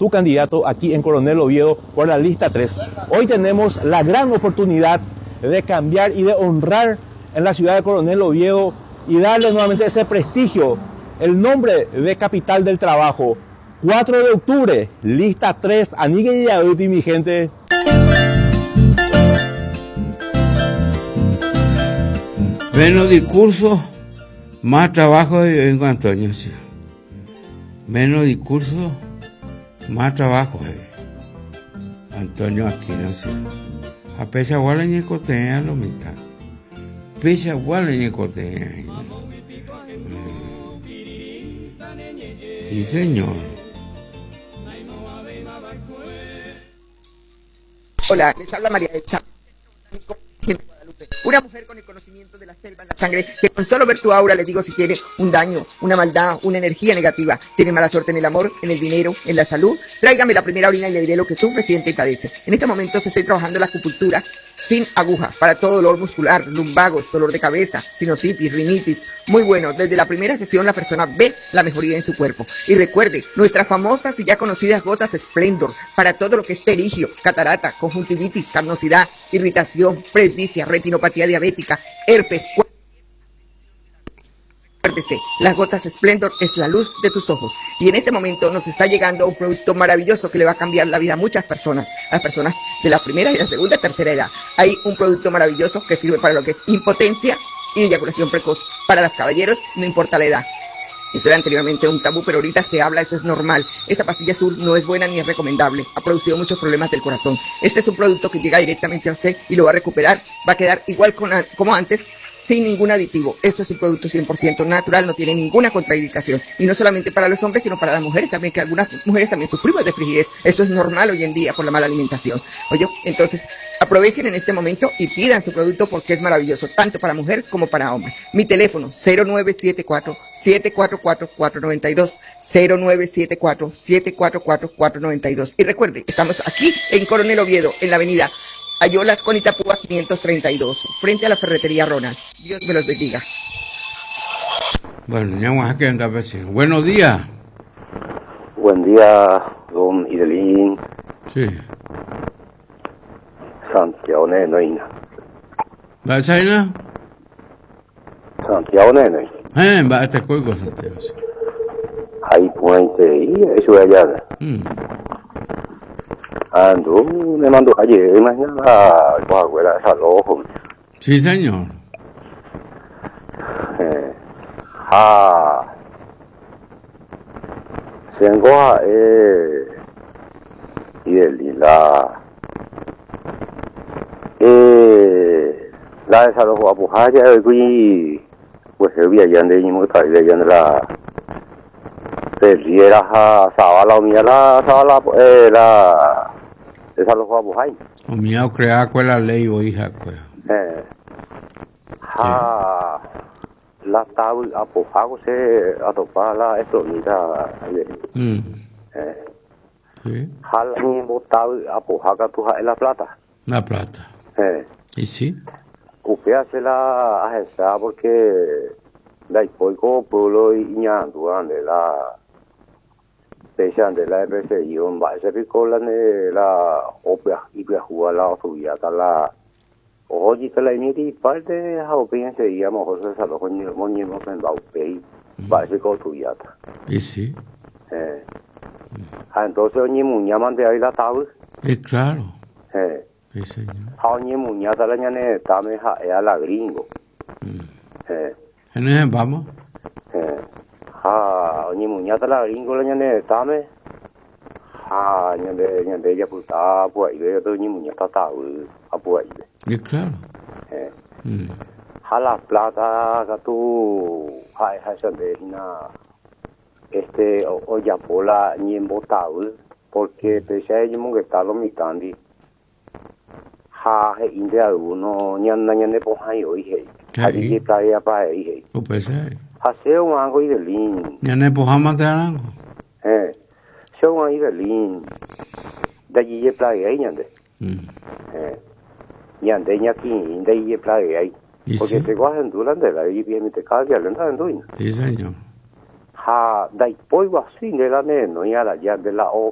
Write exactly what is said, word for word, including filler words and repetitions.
tu candidato aquí en Coronel Oviedo por la lista tres. Hoy tenemos la gran oportunidad de cambiar y de honrar en la ciudad de Coronel Oviedo y darle nuevamente ese prestigio, el nombre de capital del trabajo. cuatro de octubre, lista tres, Anigue y mi gente. Menos discurso, más trabajo de Antonio. Sí. Menos discurso, más trabajo. Eh. Antonio Aquino, sí. A pesar de que lo mitad. Pesa igual Sí, señor. Hola, les habla María Elsa. Una mujer con el conocimiento de la selva en la sangre, que con solo ver su aura le digo si tiene un daño, una maldad, una energía negativa, tiene mala suerte en el amor, en el dinero, en la salud. Tráigame la primera orina y le diré lo que sufre, siente y padece. En este momento se estoy trabajando la acupuntura sin aguja para todo dolor muscular, lumbagos, dolor de cabeza, sinusitis, rinitis. Muy bueno, desde la primera sesión la persona ve la mejoría en su cuerpo. Y recuerde, nuestras famosas y ya conocidas gotas Splendor para todo lo que es perigio, catarata, conjuntivitis, carnosidad, irritación, presbicia, retinopatía diabética, herpes. Recuérdese, las gotas Splendor es la luz de tus ojos. Y en este momento nos está llegando un producto maravilloso que le va a cambiar la vida a muchas personas, a las personas de la primera y la segunda y tercera edad. Hay un producto maravilloso que sirve para lo que es impotencia y eyaculación precoz. Para los caballeros, no importa la edad. Eso era anteriormente un tabú, pero ahorita se habla, eso es normal. Esa pastilla azul no es buena ni es recomendable. Ha producido muchos problemas del corazón. Este es un producto que llega directamente a usted y lo va a recuperar. Va a quedar igual con, como antes, sin ningún aditivo. Esto es un producto cien por ciento natural, no tiene ninguna contraindicación. Y no solamente para los hombres, sino para las mujeres también, que algunas mujeres también sufrimos de frigidez. Eso es normal hoy en día por la mala alimentación. Oye, entonces aprovechen en este momento y pidan su producto porque es maravilloso, tanto para mujer como para hombre. Mi teléfono, cero nueve siete cuatro, siete cuatro cuatro, cuatro noventa y dos, cero nueve siete cuatro, siete cuatro cuatro, cuatro noventa y dos. Y recuerde, estamos aquí en Coronel Oviedo, en la avenida Ayolas con Itapúa quinientos treinta y dos, frente a la ferretería Ronald. Dios me los bendiga. Bueno, ya vamos a quedar vecino. Buenos días. Buen día, don Idelín. Sí. Santiago Nenoina. ¿Va a China? Santiago Nenoina. Eh, va a este cuelgo, Santiago. Ahí puente, y eso es allá. Mm. Ando, me mandó ayer, imagina la abuela de desalojo. Sí, señor. Eh, ah, se engoja, eh, y el, y la, eh, la desalojo a Pujaya, y pues el día ya de mismo que está allá de la Perriera, ja, Zabala, o mía la, Zabala, eh, la desalojo a Bujay. O mía, o crea cuál la ley o hija, cuál. Eh, ja, la tabla a Pujago se atopa la electrónica. Mm. Eh. Sí. Ja, la mismo tabla a Pujaga, tu ja, es la plata. La plata. Eh. ¿Y sí? Usted hace la agencia porque la hipoico pueblo y ñandu ande la de la R C I, va ese pico la de la opia y jugar la subida la oye que la miri parte de opinión se llama José Salojón ni no en Baupei va ese con tu yata. Y sí. Eh. Ah, entonces oye muña mande ahí la tabla. Y claro. Eh. Sí, señor. Ja oye muña la ñane tame ja ea la gringo. Eh. En vamos. Eh. Ja, oye muña la gringo la ñane tame. Ja, ñande ñande ya puta pues ahí yo ni muña ta ta a pues ahí. Y claro. Eh. Mm. Ja la plata que tú ja ja sande na este o, o ya pola ni en botado porque pese a ello que está lo mitandi. Ja he inde alguno ñanda ñande poja y hoy he. Allí playa pa ahí. O pese. Ha seo algo y de lin. Ñane poja mate arango. Eh. Seo algo y de lin. De allí playa ahí ñande. Mm. Eh. Ñande ñaki de allí playa ahí. Porque sí? te guajen durante la y bien te cae al entrar en duina. Sí, señor. Ja, dai poi así de la ne no ya la ya de la o